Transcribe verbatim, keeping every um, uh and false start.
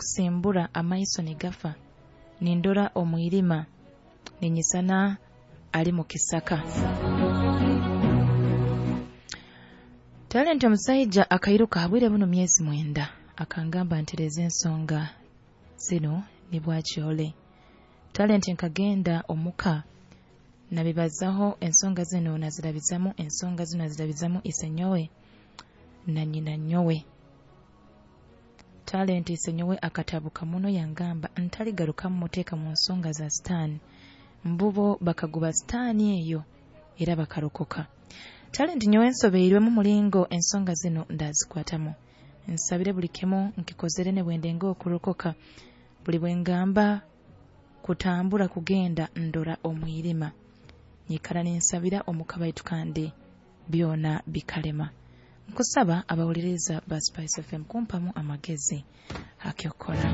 Kusimbura amaiso nigafa, nindora omwirima, ninyisana ali mu kisaka. Talenti omusaija akairuka habwire buno myezi mwenda, akangamba ntereze ensonga zinu nibwakyole. Talenti nkagenda omuka nabibazaho ensonga zinu, nazirabizamu ensonga zinu, nazirabizamu isenyowe na nyina nyowe. Talenti isenyowe akatabuka muno, yangamba ntaligarukamu muteeka mu nsonga za sitaani, mbubo bakaguba sitaani eyo era bakarokoka. Talenti nyowe nsobeirwemu mulingo ensonga zinu ndazikwatamu. Nsabire buli kimu nkikozere nebwendenga okurokoka, buli bwengamba kutambura kugenda ndora omwirima. Nyikara ninsabira omuka baitu kandi byona bikalema. Nkusaba abawuliriza ba Spice F M kumpamu amagezi akyokora.